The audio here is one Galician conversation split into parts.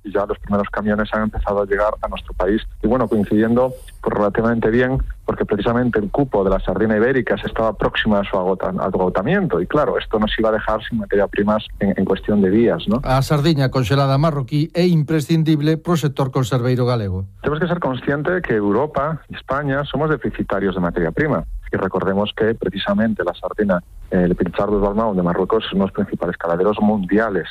y ya los primeros camiones han empezado a llegar a nuestro país. Y bueno, coincidiendo pues relativamente bien, porque precisamente el cupo de la sardina ibérica se estaba próxima a su agotamiento, y claro, esto nos iba a dejar sin materia primas en cuestión de días, ¿no? A sardiña conxelada marroquí é imprescindible pro sector conserveiro galego. Tenemos que ser conscientes de que Europa y España somos deficitarios de materia prima. Y recordemos que precisamente la sardina, el Pichardo Balmao de Marruecos, son los principales caladeros mundiales.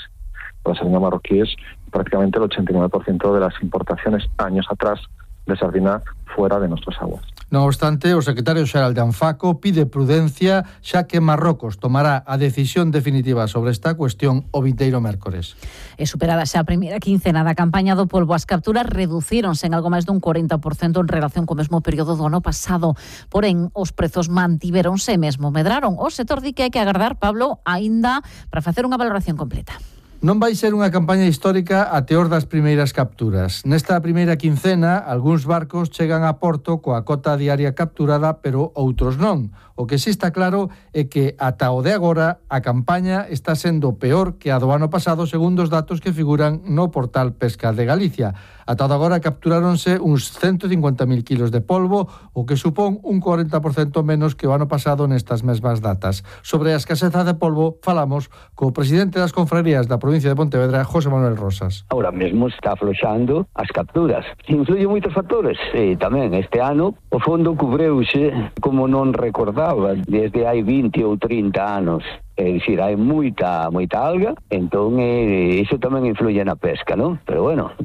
La sardina marroquí es prácticamente el 89% de las importaciones años atrás de sardina fuera de nuestras aguas. No obstante, o secretario xeral de Anfaco pide prudencia, xa que Marrocos tomará a decisión definitiva sobre esta cuestión o vindeiro mércores. E superada xa a primeira quincena da campaña do polvo, as capturas reducíronse en algo máis dun 40% en relación co mesmo período do ano pasado. Porén, os prezos mantiveronse e mesmo medraron. O sector di que hai que agardar, Pablo, aínda para facer unha valoración completa. Non vai ser unha campaña histórica a teor das primeiras capturas. Nesta primeira quincena, algúns barcos chegan a Porto coa cota diaria capturada, pero outros non. O que sí está claro é que ata o de agora a campaña está sendo peor que a do ano pasado, segundo os datos que figuran no portal Pesca de Galicia. Ata o de agora capturáronse uns 150.000 kilos de polvo, o que supón un 40% menos que o ano pasado nestas mesmas datas. Sobre a escaseza de polvo falamos co presidente das confrarías da provincia de Pontevedra, José Manuel Rosas. Ahora mesmo está afloxando as capturas. Influyen moitos factores. E tamén este ano o fondo cubreuse como non recordaba desde hai 20 ou 30 anos. É dicir, hai moita alga, entón iso tamén influye na pesca, non? Pero bueno,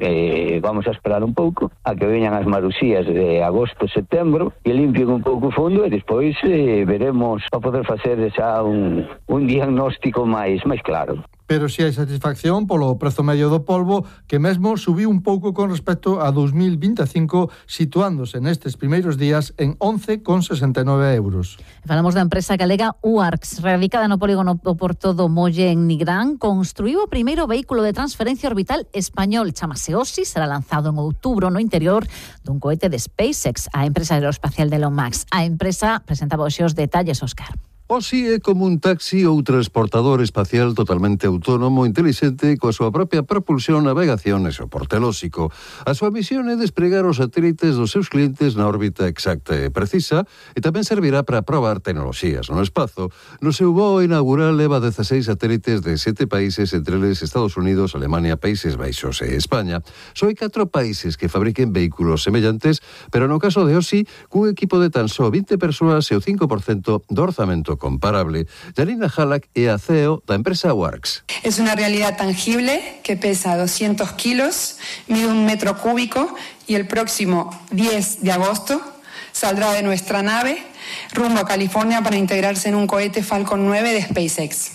vamos a esperar un pouco a que veñan as marusías de agosto, setembro, e limpien un pouco o fondo, e despois veremos para poder facer xa un diagnóstico máis claro. Pero si hai satisfacción polo prezo medio do polvo, que mesmo subiu un pouco con respecto a 2025, situándose nestes primeiros días en 11,69 euros. Falamos da empresa galega UARCS, radicada no polígono do Porto do Molle en Nigrán, construiu o primeiro vehículo de transferencia orbital español, chamase OSI, será lanzado en outubro no interior dun cohete de SpaceX, a empresa aeroespacial de Elon Musk. A empresa presentaba hoxe os detalles, Óscar. OSI é como un taxi ou transportador espacial totalmente autónomo, intelixente, coa súa propia propulsión, navegación e soporte lóxico. A súa misión é despregar os satélites dos seus clientes na órbita exacta e precisa, e tamén servirá para probar tecnoloxías no espazo. No seu voo inaugural leva 16 satélites de 7 países, entre eles Estados Unidos, Alemania, Países Baixos e España. Só hai 4 países que fabriquen vehículos semellantes, pero no caso de OSI, cun equipo de tan só 20 persoas e o 5% do orzamento comparable. Janina Halak é a CEO da empresa UARCS. Es una realidad tangible que pesa 200 kilos, mide 1 metro cúbico y el próximo 10 de agosto saldrá de nuestra nave rumbo a California para integrarse en un cohete Falcon 9 de SpaceX.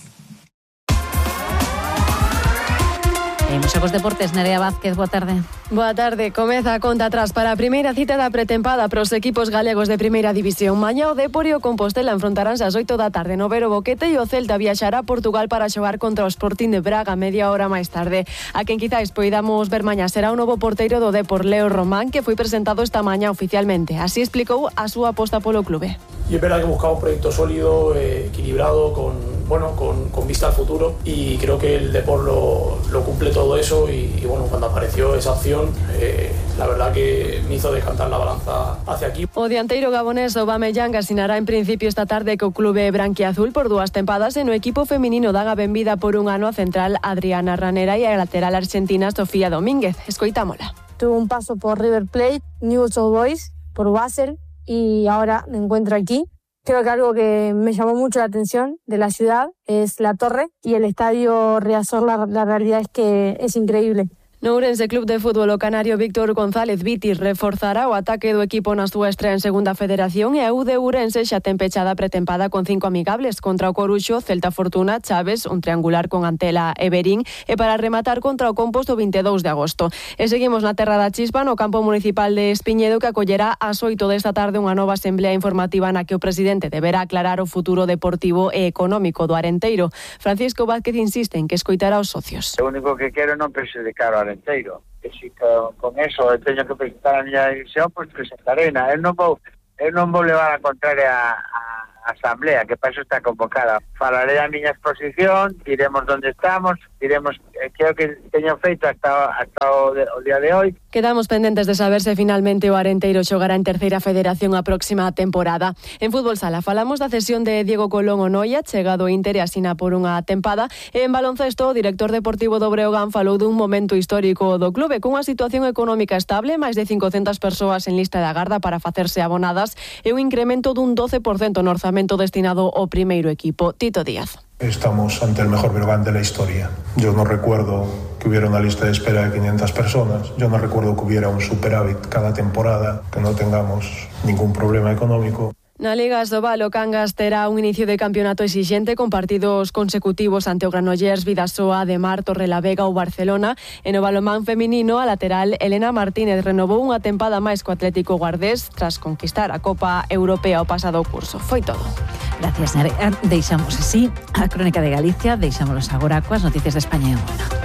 Imos aos deportes, Nerea Vázquez, boa tarde. Boa tarde, comeza a conta atrás para a primeira cita da pretempada pros equipos galegos de primeira división. Mañá o Depor e o Compostela enfrontaránse ás 8 da tarde no Vero Boquete e o Celta viaxará a Portugal para xogar contra o Sporting de Braga media hora máis tarde. A quen quizais poidamos ver mañá será o novo porteiro do Depor, Leo Román, que foi presentado esta mañá oficialmente. Así explicou a súa aposta polo clube. Y es verdad que buscamos un proyecto sólido, equilibrado, con vista al futuro, y creo que el Depor lo cumple todo eso y bueno, cuando apareció esa opción, la verdad que me hizo decantar la balanza hacia aquí. O dianteiro gabonés Aubameyang asinará en principio esta tarde co clube branquiazul por 2 tempadas e no equipo feminino daga benvida por un ano a central Adriana Ranera e a lateral argentina Sofía Domínguez. Escoitámola. Tuve un paso por River Plate, Newell's Old Boys, por Basel y ahora me encuentro aquí. Creo que algo que me llamó mucho la atención de la ciudad es la torre y el estadio Riazor, la realidad es que es increíble. No Ourense Club de Fútbol o canario Víctor González Viti reforzará o ataque do equipo na súa estrea en segunda federación e a U de Ourense xa ten pechada pretempada con 5 amigables contra o Coruxo, Celta Fortuna, Chaves, un triangular con Antela e Berín e para rematar contra o Composto 22 de agosto. E seguimos na terra da Chispa, no campo municipal de Espiñedo, que acollerá ás 8 desta tarde unha nova asamblea informativa na que o presidente deberá aclarar o futuro deportivo e económico do Arenteiro. Francisco Vázquez insiste en que escoitará os socios. O único que quero non perxudicar o Arenteiro, que si con eso teño que presentar a miña división, pois presentarei. Eu non vou levar a contraria a asamblea, que para eso está convocada. Falarei a miña exposición, diremos onde estamos, diremos creo que teño feito hasta o día de hoy. Quedamos pendentes de saber se finalmente o Arenteiro xogará en terceira federación a próxima temporada. En fútbol sala falamos da cesión de Diego Colón ao Noia, chegado ao Inter e asina por unha tempada. E en baloncesto, o director deportivo do Breogán falou dun momento histórico do clube, cunha situación económica estable, máis de 500 persoas en lista de agarda para facerse abonadas e un incremento dun 12% no orzamento destinado ao primeiro equipo. Tito Díaz. Estamos ante el mejor Breogán de la historia. Yo no recuerdo que hubiera una lista de espera de 500 personas. Yo no recuerdo que hubiera un superávit cada temporada, que no tengamos ningún problema económico. Na Liga Asobal, o Cangas terá un inicio de campeonato exixente con partidos consecutivos ante o Granollers, Vidasoa, Ademar, Torrelavega ou Barcelona. E no balonmán feminino, a lateral Elena Martínez renovou unha tempada máis co Atlético Guardés tras conquistar a Copa Europea o pasado curso. Foi todo. Gracias, Nerea. Deixamos así a Crónica de Galicia, deixámonos agora coas noticias de España e o mundo.